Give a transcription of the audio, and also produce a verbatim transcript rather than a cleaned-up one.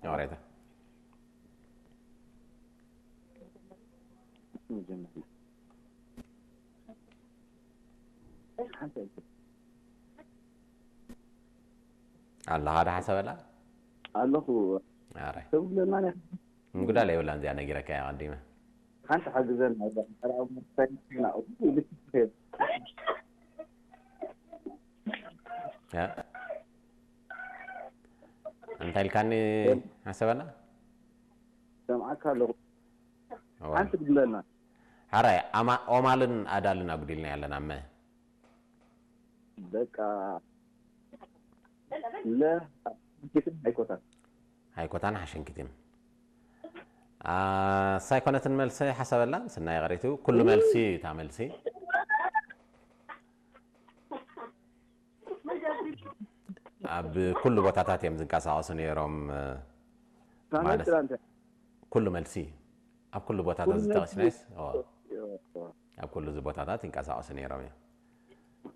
ወሬታ። አለ ሀደ ሐሰበላ? ኣለኹ። ኣረ። ሰብ ብለና ነ-፣ ምጉዳል የብላን እዚኣ ነጊረካ እያ ቀዲመ። ሓንቲ ሓግዘን፣ ኣላ፣ ኣላ፣ ያ። እንታይ ኢልካኒ ሐሰበላ? ሰምዓካ ኣለኹ። እዋ። ሓንቲ ትብለና። ሐራይ፣ ኣማ-፣ ኦማልን ኣዳልን ኣጉዲልና ያለን ኣመ። በቃ፣ ለ-፣ ኣይኮታን። ኣይኮታን ሓሸንኪትን። አ፣ ሳይኮነትን መልሰ ሐሰበላ፣ ስናይ ቀሪቱ፣ ኩሉ መልሲ፣ እታ መልሲ። ኣብ ኩሉ ቦታታት እዮም ዝንቀሳቐሱ ነይሮም፣ እ፣ ታመት ማለት ትላንተ። ኩሉ መልሲ ኣብ ኩሉ ቦታታት ኩሉ መልሲ። ዝተቐስናይስ? ኦ። ኦ። ኣብ ኩሉ እዚ ቦታታት ይንቀሳቐሱ ነይሮም እዮም።